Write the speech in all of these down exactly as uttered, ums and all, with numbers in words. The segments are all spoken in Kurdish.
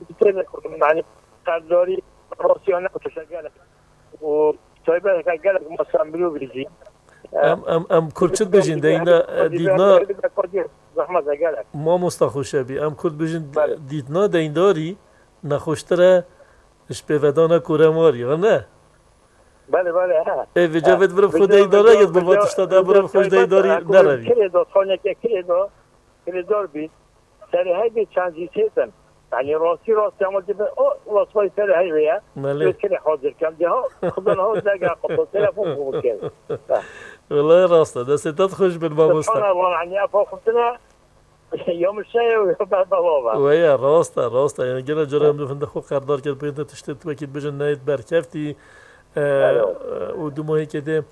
bi diktir, yani, qerdarî, rastiyane kutişe gelek. Û taybet gelek masa mirovî jî. Em, em, em Kurd çi dibêjin? Deyna, e, dîtna, zehmet e gelek. Mamosta Xoşebî, em Kurd bêjin, dîtna deyndarî nexweştir e ji pêvedana koremarî, ya ne? Belê, belê, he. Ê, vêca vê mirov xwe deydar neket, bi va tişta de mirov xwe ji deydarî nerevî. Kirê da, xaneke kirê da, kirêdar bî. Serê heybê çend jî têtin. Yani rastî rastî ama dibe, o rastî serê heybê ye. Belê. Wê kirê hazir kem. Diha, xudan ha, dega qıtı, telefon bu kere. Welayi rast e. Destê te xweş bin, mamosta. Subhanallah, yani, efa xutine, ya min şeye, ya ben baba. Weye, rast e, rast e. Yani, gene cara em dixin de xwe qerdar kir, pê de tiştê tu wekî dibêjin neyê berkeftî. E, û dumahîkê dê,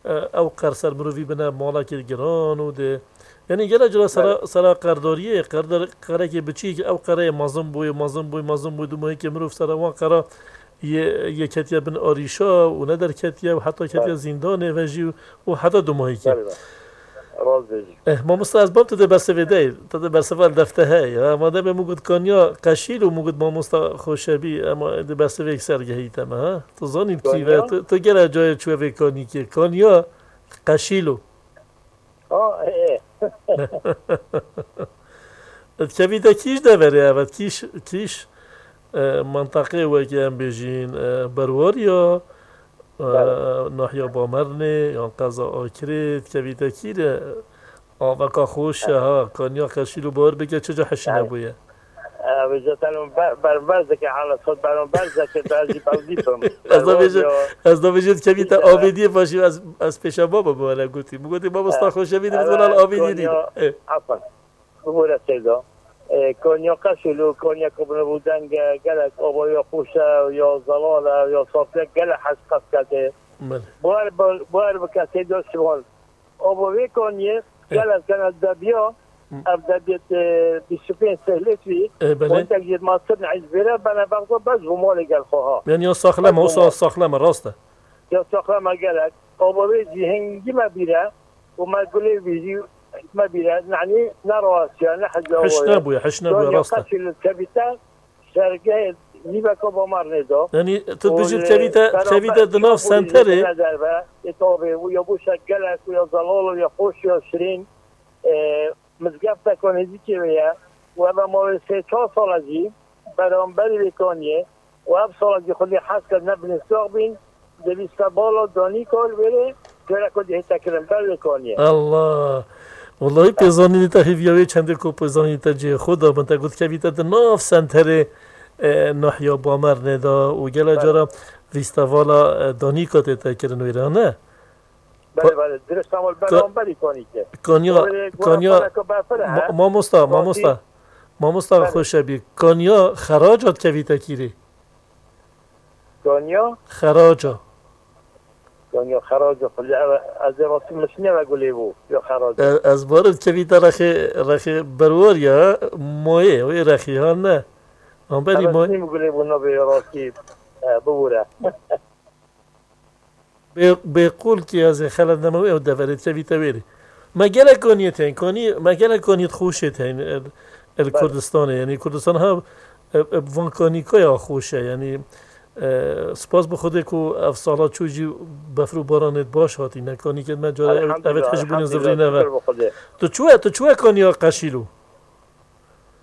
e, ew qer ser mirovî bine malekê giran û dê. Yani, gele cara sera, sera qerdariyê, qerdar, qerekê biçîk, ew qereyê mezin bûye, mezin bûye, mezin bûye, dumahîkê mirov sera wan qera yê, yê ketiye bin arîşa û ne derketiye û heta ketiye zîndanê ve jî û heta dumahîkê. Belê, belê. Rast dibêjî. Eh, mamosta, ez bam tu dê bersivê dey, tu dê bersiva li defte heye. Ha, madem min got Kanya Qeşîl û min got mamosta Xoşebî, ema dê bersivê yek ser gehîte me, ha? Tu zanî kî ve, tu, tu gele cayê çûye vê Kanîkê. Kanya Qeşîlo. Ha, e. Dikevîte kîş deverê ev, kîş, kîş, e, menteqê wekî em bêjîn, e, Berwariya, e, nahiya Bamernê, yan qeza Akirê, dikevîte kî re, aveka xweş e, ha, Kanya Qeşîlo, bawer bike çi ca hişîne bûye. Ev zaten ber-, ber-, berzeke hala sot beron berzeke berzî bevdî bim. Ez da bêje, ez da bêje dikevîte avêdiyê paşî ez, ez pêşa baba bi wele gotî. Min gotî mamosta Xoşebî dibit wela avêdiyê dî. Afan. Bibûre seyda. E, Konya Qeşîlo, Konya Kubne Budenge, gelek obaya xweş e, ya zelal e, ya safiye, gelek hez qet kete. Belê. Buar, buar bike seyda Şivan. Abo vê Konyê, gelek gene debiya, ev debiyet, e, bîst û pênc sehlet vî, e, belê. Wendek yirmi sene iz bêre bene bexda bez bu malê gel xwe ha. Yani ya saxlem, o sa-, saxlem, rast e. Ya saxlem e gelek. Abo vê zî hingî me bîre, û me gulê vî zî me bîre, yani ne rawasiya, ne hezya. Hiş nebûye, hiş nebûye, rast e. Qeşîl kevîte, sergehê nîveka Bamarnê de. Yani tu dibêjî dikevîte, dikevîte di nav senterê. Derve, e, tabi, û ya bûşe gelek, û ya zelal, û ya xweş, ya şirîn. E, mizgefteke nêzîkê wê ye. Û ev ma wê sê çar sala jî beramberî vê kaniyê. Û ev sala jî xwedî hez kir ne binê sax bîn. Dê vîsta bala danîka li vêrê, gerek xwedî hête kirin ber vê kaniyê. Allah! Wellahî pêzanînê te hêviya wê çendê ku pêzanînê te cihê xwe da, min te got kevî te di nav senterê, e, nahiya Bamernê da û gele cara fîstevala, e, danîka tê te kirin wêre, ne? Belê, belê, dirist ama beramberî kanîke. Kanya, Kanya, mamosta, mamosta, mamosta Xoşebî, Kanya xeraca dikevî te kîrê? Kanya? Xeraca. Kanya xeraca, xulî ev, ez ê rastî min şinê ve gulê bû, ya xeraca. E, ez barim kevî te rexê, rexê berwar ya, moyê, wê rexî ha ne. Amberî moyê. Nîm gulê bû nabê rastî, e, bibûre. Bê, bê qul ki ez ê xelet neme wê, ew deverê dikevî te wêrê. Me gelek kaniyê tên, kanî, me gelek kaniyê xweşê tên, el, el Kurdistanê, yani Kurdistan ha, e, e, van kanîkaya xweş e, yani, e, spas bi Xwedê ku ev sala çû jî befr û baranê baş hatîne, kanîkê me cara ev, evet hijbûnê zivrîne ve. Tu çûye, tu çûye kaniya Qeşîlo?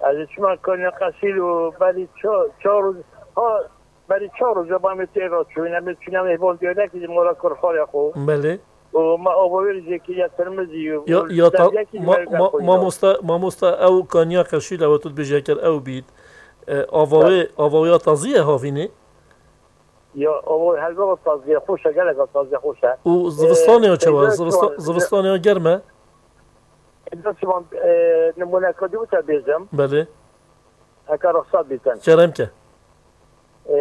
Ez ê çima kaniya Qeşîlo berî çar, çar roj, ha, berî çar roja ba me tê re çûyîn, em ê çûyîn, em ê hêvan diyarek jî mala kurxarê xwe. Belê. Û me ava wê jê kiriye tirmizî û ya, ya ta-, ma-, ma-, mamosta, mamosta ew kaniya Qeşîl ew tu dibêjî eker ew bît. E, ava wê, ava wê ya tazî ye havînê? Ya, ava wê helbet tazî ye, xweş e, gelek tazî ye, xweş e. Û zivistanê ya çawa? Zivistan-, zivistanê ya germ e? Êdî şivan, e, nimûneka dî wisa bêjim. Belê. Heke ruxsat bîtin. Kerem ke. E,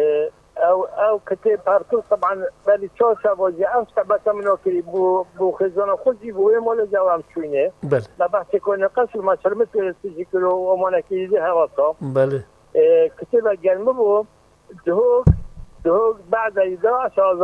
ew, ew kitêb her tu, teban, berî çar şeva jî ev sebeta min o kirî, bû, bû xêzana xwe jî, bû wê malê jî ew em çûyînê. Belê. Me behsê konê qeşî, me çirmit, e, tijî kiro, û emanekî jî hevasa. Belê. E, kitêbe germi bû, Duhok, duhok, ba'da îda, aşağı